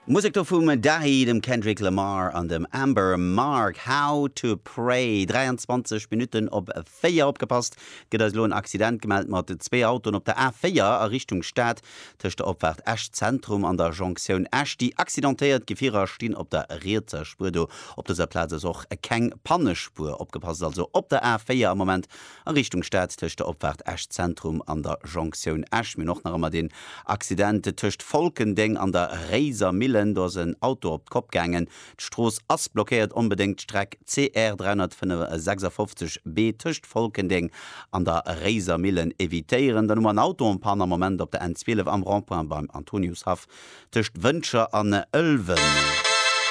Musek do vum Dahi, dem Kendrick Lamar an dem Amber Mark, How to Pray. 23 Minutten op 4. Opgepasst, et gëtt eis elo en Accident gemellt mat zwee Autoen op der A4 a Richtung Stad, tëscht der Opfaart Esch Zentrum an der Jonktioun Esch. Déi accidentéiert Gefierer stinn op der rietser Spuer. Do op dëser Plaz ass och keng Pannespuer. Opgepasst also op der A4 am Moment A Richtung Stad tëscht der Opfaart Esch Zentrum an der Jonktioun Esch. Mir hunn och nach ëmmer deen Accident tëscht Folkendeng an der Réiser Millen. Do ass en Auto op d'Kopp gaangen. D'Strooss ass blockéiert. Onbedéngt d'Streck CR 356 B tëscht Folkendeng an der Réiser Millen evitéieren. Dann hu mer en Auto en panne am Moment op der N 12 am Rond-point beim Antoniushaff tëscht Wëntger an Ëlwen.